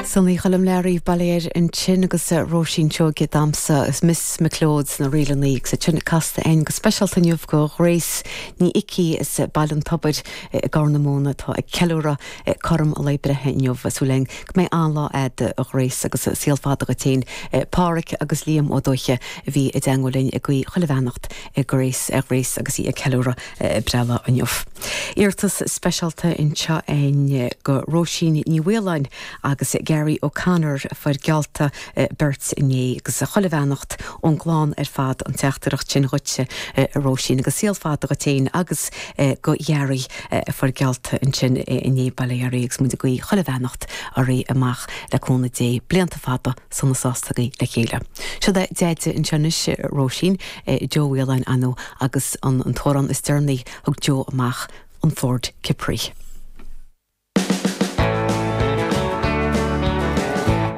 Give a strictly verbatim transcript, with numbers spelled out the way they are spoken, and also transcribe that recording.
Sonaí Choilm Learaí Baile ansin agus Róisín Seoige damsa is Miss McLeod sna ríleanna agus sin casta againn go speisialta inniu do Ghrace Ní Icí as Baile an Tobair i gCorr na Móna atá ag ceiliúradh cothrom a lae breithe inniu súil againn go mbeidh an-lá agat a Ghrace agus saol fada duit féin Páraic agus Liam Ó Dóiche a bhí i dteagmháil linn ag guí chuile bheannacht ag Grace ar Grace agus í ag ceiliúradh breithlá inniu. Iarratas speisialta anseo againn do Róisín Ní Mhaoláin agus Gary O'Connor a fuair geallta beirt inné agus chuile bheannacht ón gclann ar fad an teachtaireacht sin dhuitse Róisín agus saol fada duit féin agus do Gary a fuair geallta ansin inné Baile Gharraí agus muid ag guí chuile bheannacht oraibh amach le cúnamh Dé blianta fada sona sásta le chéile. Seo é Deaide anseo anois Róisín Joe Whelan anu agus an an t-amhrán is deireanaí thug Joe amach an Ford Capri.